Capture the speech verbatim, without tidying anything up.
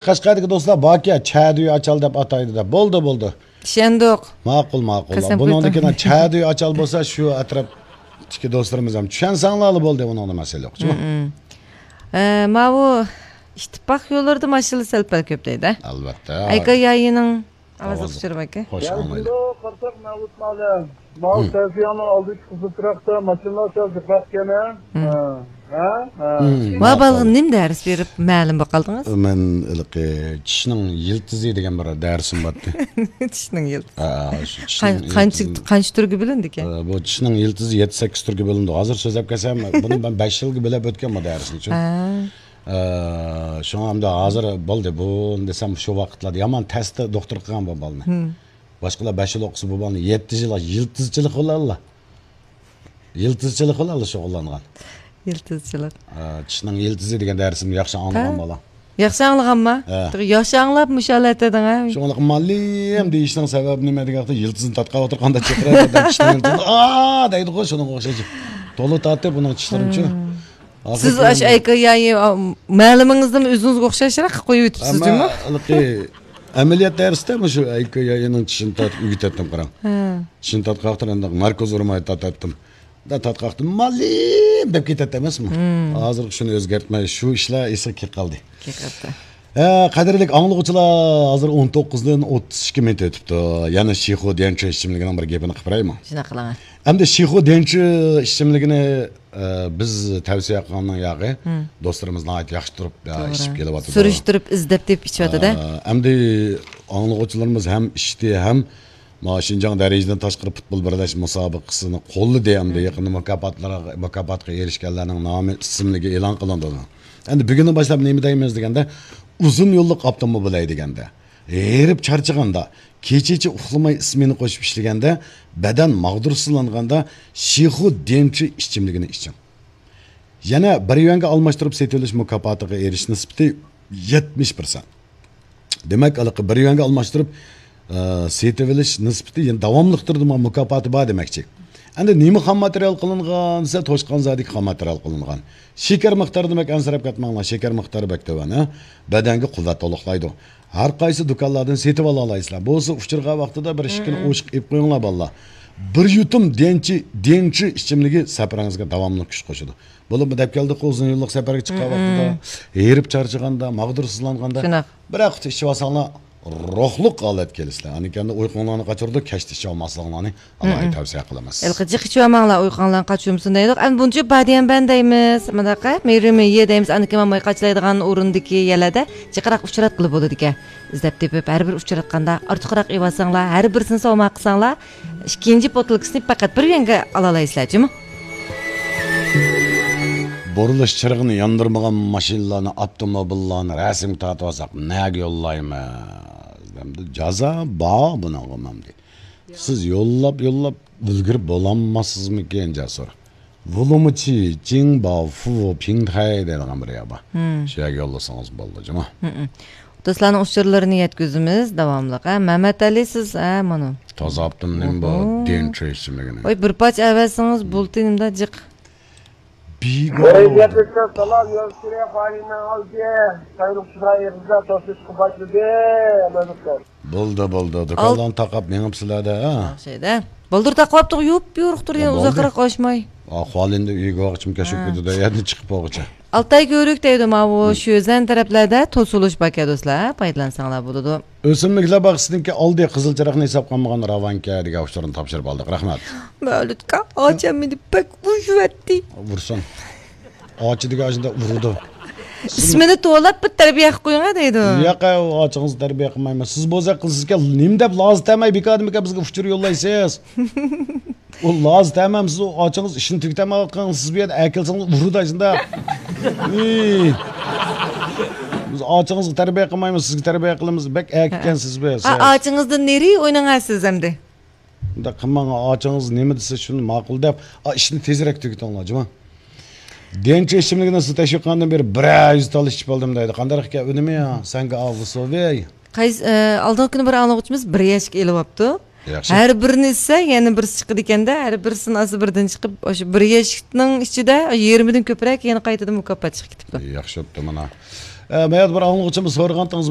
قەشقەردىكى دوستلار باركى، چەدۈي ئاچال دەپ ئاتايدۇ دەپ. بولدى، بولدى. چۈشەندۇق. ماقۇل، ماقۇل. قەسەم بۇنىڭدىن قويدۇم. كېيىن چەدۈي ئاچال بولسا، شۇ ئەتراپتىكى دوستلىرىمىز ھەم چۈشەنسەڭلارلا بولدى، بۇنىڭدا مەسىلە يوق. مم، مم. ئە، ماۋۇ ئىتتىپاق يوللىرىدا ماشىنا سەل-پەل كۆپ دەيدۇ. ئەلۋەتتە. ئەيكا يايىنىڭ ئاۋازلىق ئۇچۇرى باركى. خوش ئاڭلايلى. قارساق مەۋلۇت مۇئەللىم. ماۋۇ تەۋسىيەنىڭ ئالدىدىكى قىزىل چىراغدا ماشىنىلار سەل جىقراق ئىكەن، ھە؟ ھە؟ ھە؟ ھە؟ ھە؟ ۋا بالىغا نېمە دەرس بېرىپ مەلۇم بولۇپ قالدىڭىز؟ مەن ھېلىقى چىشنىڭ يىلتىزى دېگەن بىر دەرسىم بارتى. چىشنىڭ يىلتىزى. ھە، شۇ چىشنىڭ قان-، قانچە، يىلتىزى. قانچە تۈرگە بۆلۈندىكەن؟ ھە، بۇ چىشنىڭ يىلتىزى يەتتە، سەككىز تۈرگە بۆلۈندى. ھازىر سۆزلەپ كەلسەم، بۇنى مەن بەش يىلغا بۆلۈپ ئۆتكەن بۇ دەرسنى. ھە. ئە، شۇڭا ئەمدى ھازىر بولدى، بۇ دېسەم شۇ ۋاقىتلاردا يامان تەستە دوختۇر قىلغان بۇ بالىنى. باشقىلار بەش يىل ئوقۇسا بۇ بالىنى يەتتە يىل يىلتىزچىلىق بىلەنلا، يىلتىزچىلىق بىلەنلا شۇغۇللانغان. يىلتىزچىلىق. ئە، چىشنىڭ يىلتىزى دېگەن دەرسىمنى ياخشى ئاڭلىغان بالا. ياخشى ئاڭلىغانما؟ ھە. ياخشى ئاڭلاپ مۇشۇ ھالەتتە دەڭە. شۇڭلۇق مالىم دېيىشنىڭ سەۋەبى نېمە دېگەن ۋاقىتتا يىلتىزنى تارتقان ۋاقىتتا قانداق چىقىرىدۇ دەپ چىشنىڭ يىلتىزىنى، ئا دەيدىغۇ، شۇنىڭغا ئوخشاش. تولا تارتىپ ئۇنىڭ چىشلىرىنىچۇ. سىز ئاشۇ ئەيكا يايى، ئا، مەلىمىڭىزنىمۇ ئۆزىڭىزگە ئوخشاشراق قىلىپ قويۇۋېتىپسىز، جۇمۇ؟ ئەمما ھېلىقى ئەمەلىيەت دەرسىدە مۇشۇ ئەيكا يايىنىڭ چىشىنى تارتىپ ئۆگىتەتتىم، قاراڭ. ھە. چىشىنى تارتقان ۋاقتىدا ئەمدى ناركوز ئۇرماي تارتاتتىم. دا تارتقان ۋاقتىدا مالىم دەپ كېتەتتى ئەمەسمۇ؟ ھازىرغا شۇنى ئۆزگەرتمەي، شۇ ئىشلار ئېسىگە كېلىپ قالدى. كېلىپ قالدى. ھە، قەدىرلىك ئاڭلىغۇچىلار، ھازىر ئون توققۇزدىن ئوتتۇز ئىككى مىنۇت ئۆتۈپتۇ. يەنە شىخۇ ديەنچۈ ئىچىملىكىنىڭ بىر گېپىنى قىلىپ بېرەيمۇ؟ شۇنداق قىلىڭ. ئەمدى شىخۇ ديەنچۈ ئىچىملىكىنى، ئە، بىز تەۋسىيە قىلغاننىڭ ياغى دوستلىرىمىز ناھايىتى ياخشى تۇرۇپ، ئە، توغرا. ئىچىپ كېلىۋاتىدۇ. سۈرۈشتۈرۈپ، ئىزدەپ تېپىپ ئىچىۋاتىدۇ. ئە، ئەمدى ئاڭلىغۇچىلىرىمىز ھەم ئىچتى، ھەم ما شىنجاڭ دەرىجىدىن تاشقىرى پۇتبول بىرلەشمە مۇسابىقىسىنى قوللىدى، ئەمدى يېقىندا مۇكاپاتلارغا، مۇكاپاتقا ئېرىشكەنلەرنىڭ نامى، ئىسىملىكى ئېلان قىلىندى. ئەمدى بۈگۈندىن باشلاپ نېمە دەيمىز دېگەندە، ئۇزۇن يوللۇق ئاپتوموبىل ھەيدىگەندە، ھېرىپ چارچىغاندا، كېچىچە ئۇخلىماي ئىسمېنا قوشۇپ ئىشلىگەندە، بەدەن ماغدۇرسىزلانغاندا شىخۇ ديەنچۈ ئىچىملىكىنى ئىچىڭ. يەنە بىر يۈەنگە ئالماشتۇرۇپ سېتىۋېلىش مۇكاپاتىغا ئېرىشىش نىسبىتى يەتمىش پىرسەنت. دېمەك، ھېلىقى بىر يۈەنگە ئالماشتۇرۇپ، ئە، سېتىۋېلىش نىسبىتى يەنە داۋاملىق تۇرىدۇ، مۇكاپاتى بار دېمەكچى. ئەمدى نېمە خام ماتېرىيال قىلىنغان دېسە، توشقان زادىكى خام ماتېرىيال قىلىنغان. شېكەر مىقدارىدا دېمەك ئەنسىرەپ كەتمەڭلار، شېكەر مىقدارى بەك تۆۋەن، ھە؟ بەدەنگە قۇۋۋەت تولۇقلايدۇ. ھەر قايسى دۇكانلاردىن سېتىۋالالايسىلەر. بولسا ئۇچۇرغان ۋاقتىدا بىر ئىككىنى ئھىم. ئوشۇق ئېلىپ قويۇڭلار، بالىلار. بىر يۇتۇم ديەنچۈ، ديەنچۈ ئىچىملىكى سەپىرىڭىزگە داۋاملىق كۈچ قوشىدۇ. بولۇپمۇ دەپ كەلدۇق، ئۇزۇن يوللۇق سەپەرگە چىققان ھىم، ۋاقتىدا، ھىم. ھېرىپ چارچىغاندا، ماغدۇرسىزلانغاندا، شۇنداق. بىرەر قۇتا ئىچىۋالساڭلار، روھلۇق ھالەتكە كېلىسىلەر. ئاندىن كېيىن ئۇيقۇڭلارنى قاچۇرىدۇ، كەچتە ئىچىۋالماسلىقىڭلارنى ئالاھىدە تەۋسىيە قىلىمىز. ھېلىقى جىق ئىچىۋالماڭلار، ئۇيقۇڭلارنى قاچۇرمىسۇن دەيدۇق. ئەمدى بۇنچە بادىيەنبەن دەيمىز، مۇنداق مېرىمىيە دەيمىز، ئاندىن كېيىن ماي قاچىلايدىغان ئورۇندىكى يەرلەردە جىقراق ئۇچراتقىلى بولىدىكەن. ئىزدەپ تېپىپ، ھەر بىر ئۇچراتقاندا ئارتۇقراق ئېلىۋالساڭلار، ھەر بىرسىنى سوۋغا قىلساڭلار، ئىككىنچى بوتۇلكىسىنى پەقەت بىر يۈەنگە ئالالايسىلەر، جۇمۇ. بۇرۇلۇش چىرىغىنى ياندۇرمىغان ماشىنىلارنى، ئاپتوموبىللارنى رەسىمگە تارتىۋالساق، نەگە يوللايمىز؟ ئەمدى جازا بار بۇنىڭغا ئەمدى. سىز يوللاپ، يوللاپ ئۈلگۈرۈپ بولالماسسىزمىكىن، جەسۇر؟ ۋۇلۇمۇچى، جىڭباۋ، فۇ، پىڭتەي دەيدىغان بىر يەر بار. ھىم. شۇ يەرگە يوللىسىڭىز بولىدۇ، جۇمۇ. ھىم. دوستلارنىڭ ئۇچۇرلىرىنى يەتكۈزىمىز داۋاملىق. ھە، مەمەتئەلى، سىز، ھە، مانا. تازا ئاپتۇم نېمە بۇ؟ ئوھو. ديەنچۈ ئىچىملىكىنى. ۋاي، بىر پارچە ئەۋەتسىڭىز بولدى، نېمىدا جىق. بىگۇ. بەرىكەتلىككە سالام، يول سۈرە قايىننىڭ ئالدى. سايرۇقچىلار ئېغىزدا توسۇشقا باشلىدى. بولدى، بولدى. دۇكانلارنى تاقاپ مېڭىپسىلەر-دە، ھە؟ ياخشى-دە. بولدۇر تاقاپتۇق، يۇپ-يورۇق تۇر، يەنە بولدى. ئۇزاقراق قوشماي. ئا، خۇالىندە ئۆيگە بارغىچە كەچۈپ ھە. كېتىدۇ، يەردىن چىقىپ بولغۇچە. ئالتاي كۆۋرۈك دەيدۇ، ماۋۇ ھىم. شۆزەن تەرەپلەردە توسۇلۇش باركەن، دوستلار، پايدىلانساڭلار بولىدۇ. ئۆسۈملۈكلەر باغچىسىنىڭكى ئالدى قىزىل چىراغنى ھېساب قىلمىغان راۋانكە دېگەن ئۇچۇرنى تاپشۇرۇپ ئالدۇق. رەھمەت. مەۋلۇتكا، ئاچام مېنى بەك ئۇرۇۋەتتى. ئۇرسۇن. ئاچا دېگەن ئاشۇنداق ئۇرىدۇ. ئىسمىنى توۋلاپ بىر تەربىيە قىلىپ قويۇڭ دەيدۇ. ياق، ئۇ ئاچىڭىزنى تەربىيە قىلمايمەن. سىز بولسا قىلسىزكەن، نېمە دەپ لازا تەمەي بىكاردىمىكەن بىزگە ئۇچۇر يوللايسىز؟ ئۇ لازا تەمەم، سىز ئۇ ئاچىڭىز ئىشىنى تۈگىتەلمەيۋاتقان، سىز بۇ يەردە ئەكەلسىڭىز ئۇرىدۇ ئاشۇنداق. ئىي. بىز ئاچىڭىزغا تەربىيە قىلمايمىز، سىزگە تەربىيە قىلىمىز. بەك ئەركىكەنسىز بۇ يەردە. ئا، ئاچىڭىزدىن نېرى ئويناڭ سىز ئەمدى. ئۇنداق قىلماڭ، ئاچىڭىز نېمە دېسە شۇنى ماقۇل دەپ، ئا، ئىشنى تېزرەك تۈگىتىڭلار، جۇمۇ. ديەنچۈ ئىچىملىكىنى سىز تەشۋىق قىلغاندىن بېرى بىرەر يۈز تال ئىچىپ بولدۇم دەيدۇ. قانداق ئىكەن ئۈنۈمى يا؟ سەنگە ئاۋۇ سوۋېي. قايسى، ئە، ئالدىنقى كۈنى بىر ئاڭلىغۇچىمىز بىر يەشىك ئېلىۋاپتۇ. ياخشى. ھەر بىرىنى ئىچسە، يەنە بىرسى چىقىدىكەن-دە، ھەر بىرسىنى ئالسا بىردىن چىقىپ، ئاشۇ بىر يەشىكنىڭ ئىچىدە يېرىمىدىن كۆپرەك يەنە قايتىدىن مۇكاپات چىقىپ كېتىپتۇ. ياخشى بوپتۇ مانا. ئە، مەيەردە بىر ئاڭلىغۇچىمىز سورىغانتىڭىز